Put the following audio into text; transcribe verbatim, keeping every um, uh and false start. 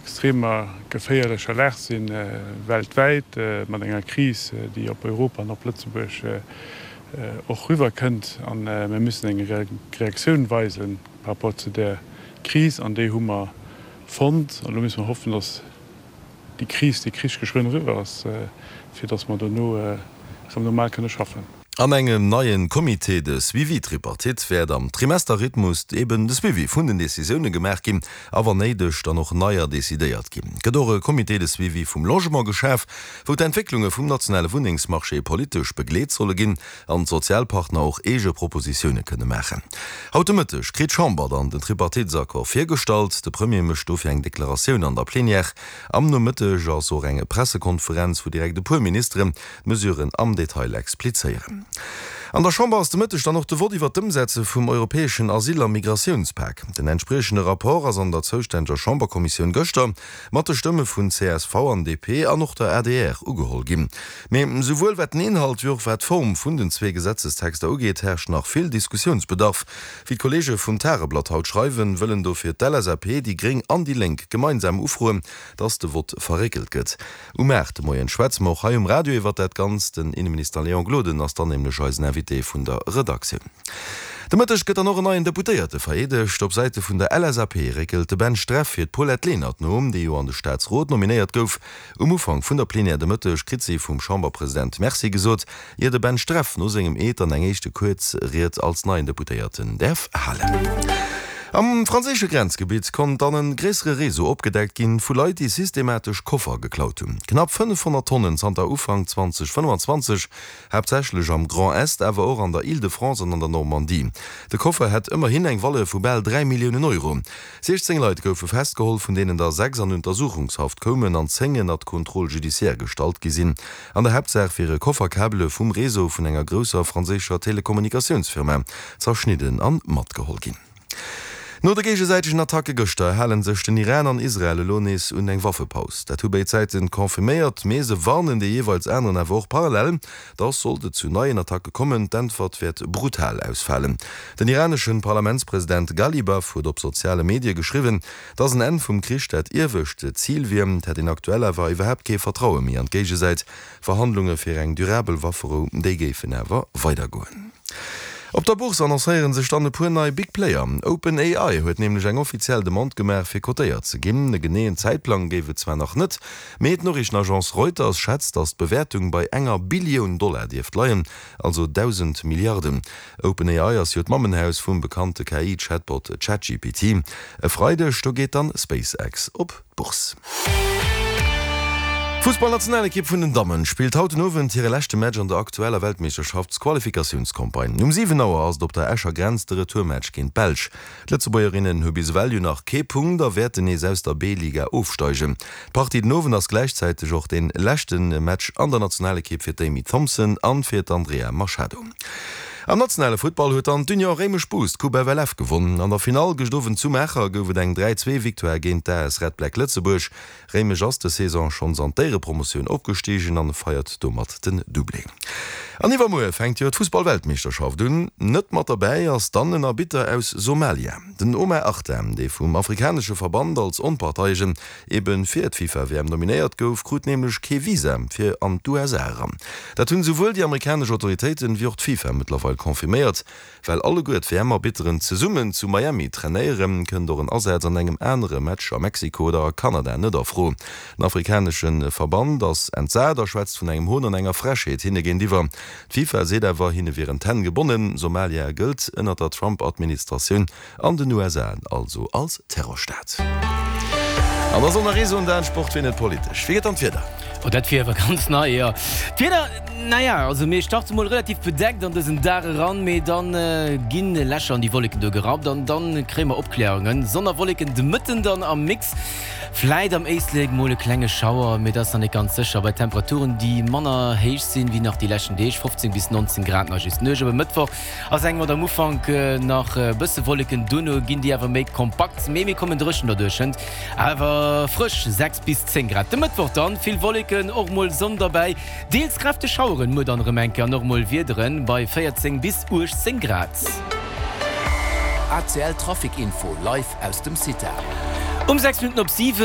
extremer geféierlecher Lag sinn, weltwäit, mat enger Kris, déi op Europa an op Lëtzebuerg och eriwwerkënnt. A mir müssen eng Reaktioun weisen par rapport zu där Kris, an déi hu mer fonnt. An elo musse mer hoffen, datt déi Kris, dee Krich geschwënn eriwwer ass, fir datt mer dono erëm normal kënne schaffen. An engem neien Comité de suivi tripartite wäert am Trimesterrhythmus eben de Suivi vun den Decisioune gemaach ginn a wann néideg dann och neier decidéiert ginn. Et gëtt och e Comité de suivi vum Logement geschaf, wou d'Entwécklunge vum nationale Wunnengsmarché politesch begleet solle ginn an d'Sozialpartner och eege Propositioune kënne maachen. Haut de Mëtteg kritt d'Chamber dann den Tripartitesaccord virgestallt. De Premier mécht dofir eng Deklaratioun an der Plenière. Am Nomëtteg ass och eng Pressekonferenz, wou direkt e puer Ministeren d'Mesuren am Detail explizéieren. An der Chamber ass de Mëtteg dann och de Vott iwwer d'Ëmsetze vum europäeschen Asyl a Migratiounspak. Den entspriechende Rapport ass an der zoustänneger Chamberkommissioun gëschter mat de Stëmme vun csv an D P an och der A D R ugeholl ginn. Mee souwuel wat den Inhalt wéi och wat d'Form vun den zwee Gesetzestexter ugeet, herrscht nach vill Diskussiounsbedarf. Wéi d'Kolleege vum Tageblatt haut schreiwen, wëllen dofir d'L S A P, déi Gréng an déi Lénk gemeinsam ufroen, dass de Vott verréckelt gëtt. Um aacht de Moien schwätze mer och hei um Radio iwwer dat Ganzt. Den Inneminister Léon Gloden ass dann nämlech eisen Invité vun der Redaktioun. De Mëtteg gëtt dann och en neien Deputéierte vereedegt. Op Säite vun der L S A P réckelt de Ben Streff fir d'Paulette Lenert no, déi jo an de Staatsrot nominéiert gouf. Um Ufank vun der Plenière de Mëtteg kritt si vum Chamberpresident Merci gesot, ier de Ben Streff no sengem Eed dann eng éischte kuerz Ried als neien Deputéierten däerf halen. Am franséische Grenzgebitt konnt dann e gréissere Réseau opgedeckt ginn vu Leit, déi systematesch Koffer geklaut hunn. Knapp fënnefhonnert Tonnen zanter Ufank zweedausendfënnefenzwanzeg, haaptsächlech am Grand Est, awer och an der Île-de-France an an der Normandie. De Koffer hätt ëmmerhin eng Valeur vu bal dräi Milliounen Euro. siechzéng Leit goufe festgeholl, vun deenen der sechs an Untersuchungshaft koumen an zéng ënnert Contrôle judiciaire gestallt gi sinn. An der Haaptsaach wiere Kofferkabele vum Réseau vun enger grousser franséischer Telekommunikatiounsfirma zerschnidden an matgeholl ginn. No de géigesäitegen Attacke gëschter hale sech den Iran an Israel elo nees un eng Waffepaus. Dat hu béid Säiten confirméiert, mee se warnen dee jeeweils aneren awer och parallel, dass sollt et zu neien Attacke kommen, d'Äntwert wäert brutal ausfalen. Den iranesche Parlamentspresident Ghalibaf huet op soziale Medie geschriwwen, dass en Enn vum Krich dat iewescht Zil wier, et hätt een aktuell awer iwwerhaapt kee Vertraue méi an d'Géigesäit. Verhandlunge fir eng durabel Wafferou, déi géifen awer weidergoen. Op der Bourse annoncéiere sech dann e puer nei Big Player. OpenAI huet nämlech eng offiziell Demande gemaach, fir kotéiert ze ginn. E geneeën Zäitplang géif et zwar nach net, mee d'Noriichtenagence Reuters schätzt, datt d'Bewäertung bei enger Billioun Dollar dierft leien, also dausend Milliarden. OpenAI ass jo d'Mammenhaus vum bekannte K I-Chatbot ChatGPT. E Freideg, do geet dann SpaceX op d'Bourse. D'Fussballnationalekipp vun den Dammen spillt haut den Owend hire leschte Match an der aktueller Weltmeeschterschaftsqualifikatiounscampagne. Um siwen Auer ass et op der Escher Grenz de Retourmatch géint d'Belsch. D'Lëtzebuergerinnen hu bis ewell jo nach kee Punkt a wäerten nees aus der B-Liga ofsteigen. D'Partie den Owend ass gläichzäiteg och dee leschte Match an der Nationalekipp fir d'Amy Thompson an fir d'Andrea Machado. Am nationale Futtball huet dann d'Union Réimech Boost d'Coupe F L F gewonn. An der Finall gëscht Owend zu Maacher gouf et eng dräi zwee Victoire géint d'A S Red Black Lëtzebuerg. Réimech ass dës Saison schonns an d'Éierepromotioun opgestigen an feiert domat den Doublé. An iwwermuer fänkt jo d'Fussballweltmeeschterschaft un. Net mat derbäi ass dann en Arbitter aus Somalia. Den Omar Artan, dee vum afrikanesche Verband als Onparteiegen ebe fir d'FIFA-W M nominéiert gouf, krut nämlech kee Visa fir an d'U S A eran. Dat hunn souwuel déi amerikanesch Autoritéiten wéi och d'FIFA mëttlerweil confirméiert. Well alleguer d'W M-Arbitteren zesummen zu Miami trainéieren, kënnt och en Asaz an engem anere Match a Mexiko oder a Kanada net a Fro. Den afrikanesche Verband ass entsat a schwätzt vun engem Hohn an enger Frechheet hinne géintiwwer. D'FIFA seet awer, hinne wieren d'Hänn gebonnen. Somalia gëllt ënner der Trump-Administratioun an den U S A also als Terrorstaat. An da soll nach ee soen, Dan, Sport wier net politesch. Wéi gëtt dann d'Wieder? Oh, dat wier awer ganz nei, jo. D'Wieder, naja, also mir starte mol relativ bedeckt an dësen Dag eran, mee dann ginn Lächer an déi Wolleken do gerappt an dann kréie mer Opkläerungen. Sonn a Wolleken de Mëtten dann am Mix, vläit am Éislek mol e klenge Schauer, mee dat ass nach net ganz sécher. Bei Temperaturen, déi manner héich sinn wéi nach déi leschten Deeg, fofzéng bis nonzéng Grad nach just. Nuecht op e Mëttwoch ass eng mat am Ufank nach e bësse Wolleken, duerno ginn déi awer méi kompakt, mee mir kommen dréchen derduerchent. Awer frësch, sechs bis zéng Grad. De Mëttwoch dann vill Wolleken, och mol Sonn derbäi, deels kräfteg Schaueren, muer dann erëm eng Kéier an och mol Wiederen bei véierzéng bis uechtzéng Grad. A C L Trafic Info live aus dem CITA. Um sechs Minutten op siwen.